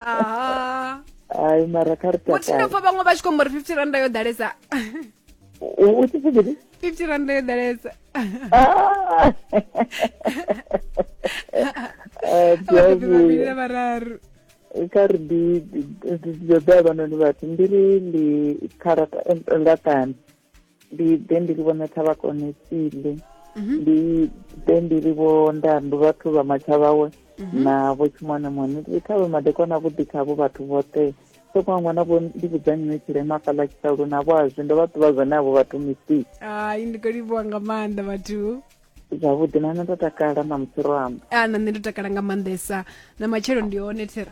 Aha. Hai mara kha ri Muthi ndo takale. pfa vhaṅwe vha tshi khou amba uri 50 randa yo ḓalesa. U tshi pfi mini? 50 randa yo ḓalesa. Ah! Eh, ndi a Vhabebi vhavhili vhuya. na vhararu. Kha ri ndi ndi ḓo havhanoni vhathu ndi ri ndi kha laṱani ndi ḓe ndi ri vhone thavhakone tsile ndi ḓe ndi ri vho ndandu vhathu vha matshavhawe na vho tshimwane mwane ndi kha vhe madekwana avhuḓi khavho vhathu vhoṱhe soko ṅwana vho ndi vhudza nnyi tshilema fhaḽa tshisalu na vho azwi ndo vha ṱuvha zwone avho vhathu misi Hai ndi khou livhuwa nga maanḓa vhathu. Zwavhuḓi na nṋe ndo takala na musi ro amba. A na nṋe ndo takala nga maanḓesa na matshelo ndi hone thera.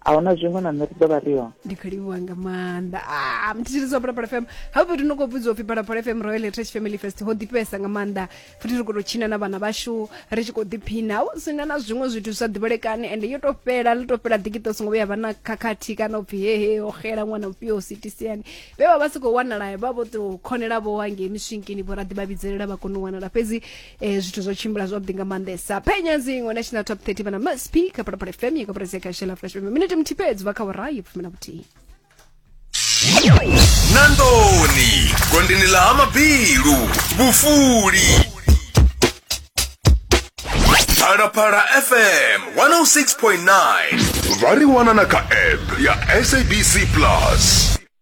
A huna zwiṅwe na nṋe ri ḓo vha ri hone. Ndi khou livhuwa nga maanḓa. Ah, mthetshelesi wa Phalaphala FM hafho fhethu no khou vhudziwa upfhi Phalaphala FM Royal Heritage Family Fest ho ḓifhesa nga maanḓa futhi ri khou tou tshina na vhana vhashu ri tshi khou ḓiphina hu si na na zwiṅwe zwithu zwi sa ḓivhalekani ende yo tou fhela ḽi tou fhela ḓikiṱa u songo vhuya vha na khakhathi kana upfhi hehe ho xela ṅwana mufhio sitisiani vhe vha vha si khou wanala vha vho tou khonela vho hangei miswinkini vho raḓi vha vhidzelela vha kona u wanala fhedzi zwithu zwo tshimbila zwavhuḓi nga maanḓesa penya dziṅwe national top 30 vhana msp kha Phalaphala FM ya koporasi ya khashela fresh FM minete muthihi fhedzi vha kha vhorayi fumi na vhuthihi. Nandoni gondeni ḽa ha mabilu vhufuli Phalaphala FM 106.9 vha ri wana na kha app ya SABC Plus.